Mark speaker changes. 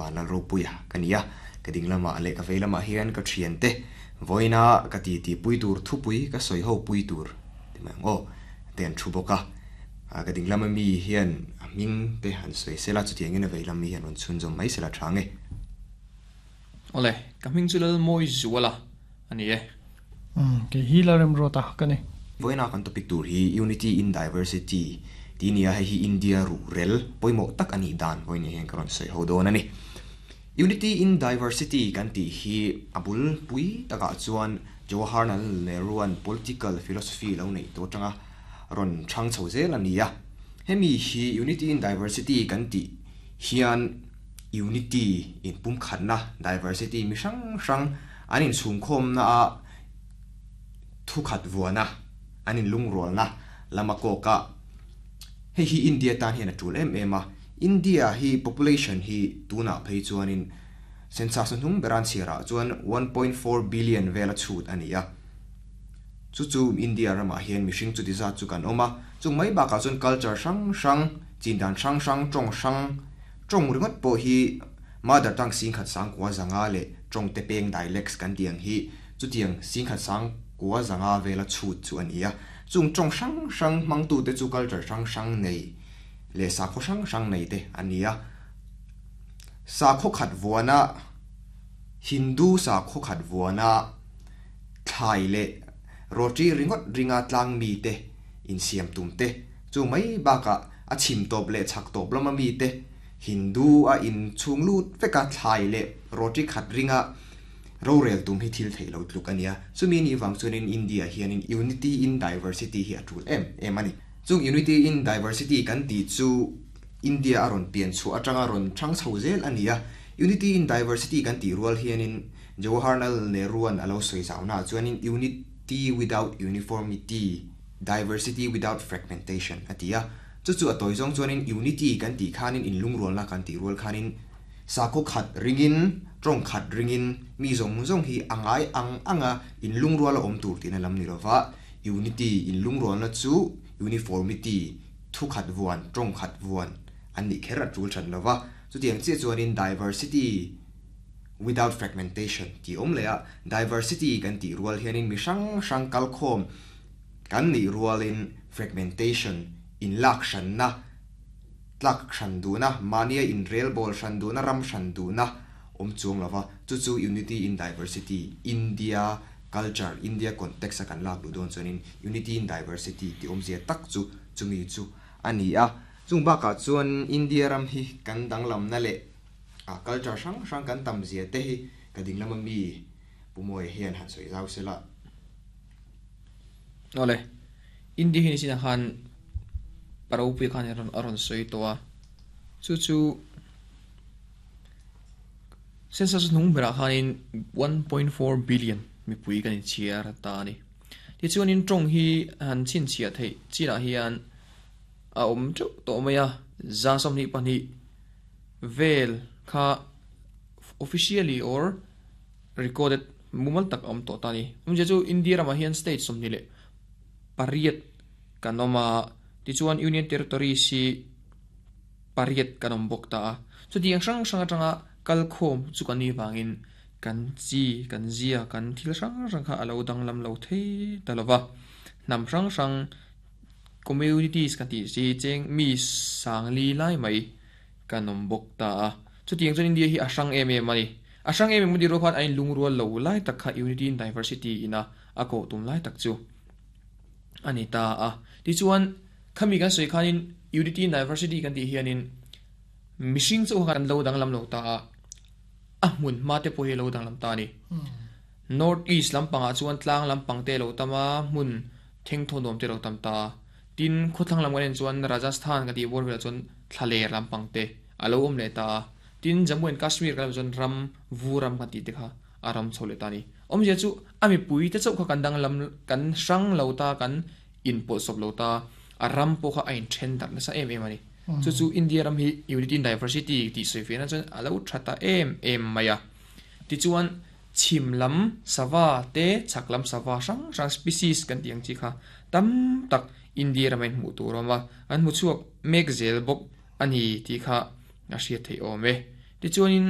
Speaker 1: Vanlalropuia ka ni a, ka ding lamah leh ka vei lamah hian ka thiante vawiina ka titi pui tur thupui ka sawi ho pui tur ti mai ang aw te an thu bawk a, ka ding lama mi hian a hming te han sawi sela chutiangin a vei lam mi hian rawn chhunzawm mai sela tha nge.
Speaker 2: Awle, ka hming chu Lalmawi Zuala a ni e.
Speaker 3: Umm, kei hi Lalremruata ka ni.
Speaker 1: Vawiina kan topic tur hi Unity in Diversity tih nia, hei hi India ruhrel pawimawh tak a nih dan vawiin hian ka rawn sawi ho dawn a ni. Unity in Diversity kan tih hi a bul pui takah chuan Jawaharlal Nehru-a'n political philosophy lo neih tawh atanga rawn chhang chho zel a ni a. Hemi hi Unity in Diversity kan tih hian Unity inpumkhatna, diversity, mi hrang hrang an inchhungkhawmna a thukhat vuana an inlungrualna lama kawk a, hei hi India tan hian a tul em em a, India hi population hi tunah phei chuanin census hnuhnung bera an chhiarah chuan 1.4 billion vela chhut a ni a, chu chu India ramah hian mihring chuti zat chu kan awm a, chung mai bakah chuan culture hrang hrang, chindan hrang hrang, tawng hrang. Tawng ringawt pawh hi mother tongue singkhat sangkua zanga leh tawng te peng dialects kan tih ang hi chutiang singkhat sangkua zanga vela chhut chu a ni a. Chung tawng hrang hrang hmangtute chu culture hrang hrang nei leh sakhaw hrang hrang nei te a ni a. Sakhaw khat vuana Hindu sakhaw khat vuana thlai leh roti ringawt ringa tlang mite insiam tum te Chu mai bakah a chhim tawp leh chhak tawp lama mite Hindu a inchhung lut veka thlai leh roti khat ringa rorel tum hi thil theih lo tluk a nia. Chumi nih vang chuanin India hianin Unity in Diversity hi a tul em em a ni. Chung Unity in Diversity kan tih chu India a rawn pian chhuah atanga rawn chhang chho zel a ni a. Unity in Diversity kan tih rual hianin Jawaharlal Nehru-a'n a lo sawi zaunaah chuanin Unity without Uniformity, Diversity without fragmentation a ti a, chu chu a tawi zawng chuanin unity kan tih khanin inlungrualna kan tih rual khanin sakhaw khat ringin, tawng khat ringin mi zawng zawng hi a ngai ang anga inlungrual a awm tur tihna lam ni lova, unity inlungrualna chu uniformity, thu khat vuan, tawng khat vuan an nih kher a tul than lova, chutiang chiah chuanin diversity without fragmentation tih awm leh a, diversity kan tih rual hianin mi hrang hrang kalkhawm Kan nih rualin fragmentation, inlak hranna, tlak hran duhna, mahnia inrelbawl hran duhna, ram hran duhna awm chuang lova, chu chu unity in diversity, India culture, India context a kan lak duh dawn chuanin unity in diversity tih awmzia tak chu chumi chu a ni a. Chung bakah chuan India ram hi kan danglamna leh a culture hrang hrang kan tam zia te hi ka dinglama mi Pu Mawia hian han sawi zau sela.
Speaker 2: Awle, India hi nichina khan Paropui khan a rawn sawi tawh a, chu chu census hnung berah khanin 1.4 billion mipui kan inchhiar ta a ni. Tichuanin tawng hi han chhinchhiah theih chinah hian a awm teuh tawh mai a, 22 vel kha officially or Recorded mumal tak a awm tawh ta a ni. Awmzia chu India ramah hian state 28 kan awm a, tichuan Union Territories hi pariat kan awm bawk ta a. Chutiang hrang hrang atanga kalkhawm chu kan nih vangin kan chi, kan zia, kan thil hrang hrang kha a lo danglam lo thei ta lo va. Hnam hrang hrang communities kan tih chi cheng mi sangli lai mai kan awm bawk ta a. Chutiang chuan India hi a hrang em em a ni. A hrang em em a ni rual khan a inlungrual lo lai tak kha Unity in Diversity ina a koh tum lai tak chu a ni ta a. Tichuan, khami kan sawi khanin Unity in Diversity kan tih hianin mihring chauh kha kan lo danglam lo ta a, a hmun hma te pawh hi a lo danglam ta a ni. North East lampangah chuan tlang lampang te a lo tam a, hmun thengthaw nuam te a lo tam ta a. Tin, khawthlang lam kan en chuan Rajasthan kan tih bawr velah chuan thlaler lampang te a lo awm leh ta a. Tin, Jammu and Kashmir kan lam chuan ram vu ram kan tih te kha a ram chho leh ta a ni. Awmzia chu a mipui te chauh kha kan danglam kan hrang lo ta, kan inpawlhsawp lo ta, a ram pawh kha a inthen darh nasa em em a ni. Chu chu India ram hi Unity in Diversity tih sawi fiahna chuan a lo tha ta em em mai a. Tichuan, chhim lam sava te chhak lam sava hrang hrang species kan tih ang chi kha tam tak India rama inhmuh tur a awm a, an hmu chhuak mek zel bawk a ni tih kha a hriat theih awm e. Tichuanin.